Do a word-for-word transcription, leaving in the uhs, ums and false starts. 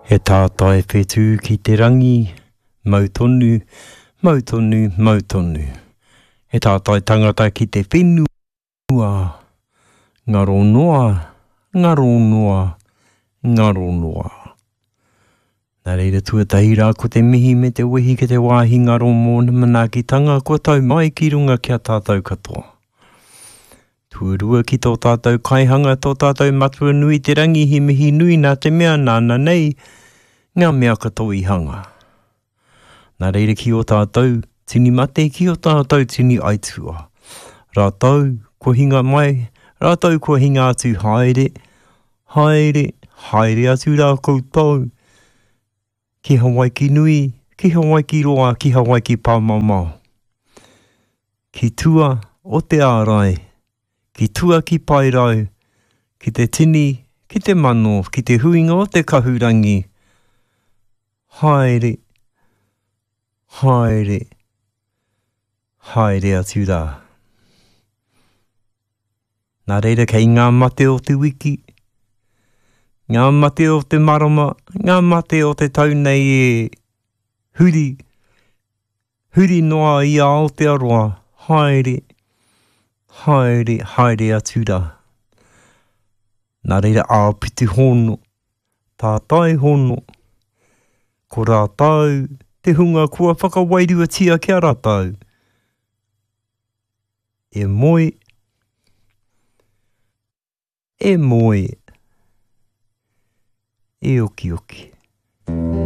He tātai whetū ki te rangi, mau tonu, mau tonu, mau tonu. He tātai tangata ki te whenua, ngaro noa, ngaro noa, ngaro noa. Nā reira tuatahi rā ko te mihi me te wehi ki te wāhi ngaro mōna manaakitanga kua tau mai ki runga ki a tātou katoa. Tuarua ki tō tātou kaihanga, tō tātou matua nui te rangi he mihi nui nā te mea nāna nei ngā mea katoa i hanga. Nā reira ki o tātou tini mate, ki o tātou tini aitua. Rātou kua hinga mai, rātou kua hinga atu haere, haere, haere atu rā koutou. Ki Hawaiki nui, ki Hawaiki roa, ki Hawaiki pāmamao. Ki tua o te ārai, ki tua ki Paerau, ki te tini, ki te mano, ki te huinga o te kahurangi. Haere, haere, haere atu rā. Nā reira kei ngā mate o te wiki, ngā mate o te marama, ngā mate o te tau nei e huri, huri noa i Aotearoa, haere, haere, haere atu rā. Nā reira āpiti hono, tātai hono, ko rātou te hunga kua whakawairuatia ki a rātou. E moe, e moe, e okioki.